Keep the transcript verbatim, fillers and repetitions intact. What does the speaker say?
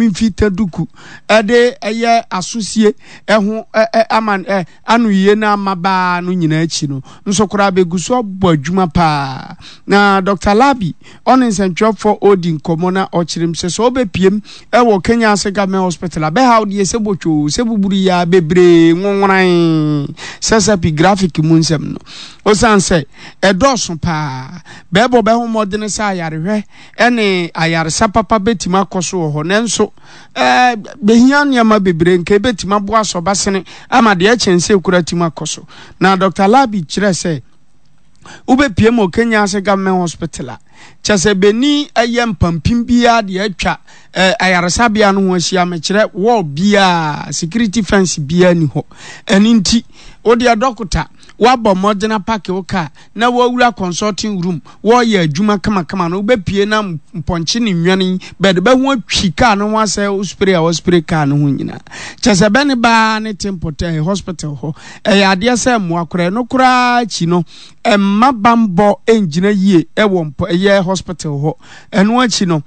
Mfita duku ɛde ɛyɛ asosie ɛho ɛ ama ɛ anoyie na ama baa no nyinaa akyi no nso koraa bɛgu so abɔ adwuma paa. Na Doctor Labi ɔne nsɛntwerɛfoɔ ɔredi nkɔmmɔ na ɔkyerɛ mu sɛ sɛ ɔbɛpiem ɛwɔ Kenya ase Government Hospital a, bɛhaw deɛ sɛ botwoo sɛ buburu yi a bebree nwonworan sɛ sɛ graphic mu nsɛm no, ɔsiane sɛ ɛdɔɔso paa, bɛɛbɔ bɛho mmɔdene sɛ ayarehwɛ ɛne ayaresa papa bɛtumi akɔ so wɔ hɔ, nanso ɛɛ behia nneɛma bebree nka ebɛtumi aboa sɔbasene ama deɛ ɛkyɛn sɛ ekura tumi akɔ so. Na Doctor Labi kyerɛ sɛ wobɛpie mu Kenya ase Government Hospital a, kyɛ sɛ bɛni ɛyɛ mpampim biara deɛ atwa ɛɛ ayaresabea no ho ahyia, mekyerɛ wall biara, security fence biara ni hɔ. Ɛne nti wodeɛ dɔkota wabɔ mmɔden apark wo kaa na wawura consulting room, wɔreyɛ adwuma kamakama no, wobɛpie na mpɔnkye ne nnwane bɛde bɛho atwi kaa no ho asɛ wo spray a wɔspray kaa no ho nyinaa. Kyɛ sɛ bɛne baa ne tempɔtɛ hospital hɔ ɛyɛ adeɛ sɛ mmoa koraa no koraa akyi no ɛmma bambɔ ngyina yie ɛwɔ mpɔ ɛyɛ hospital hɔ. Ɛno akyi no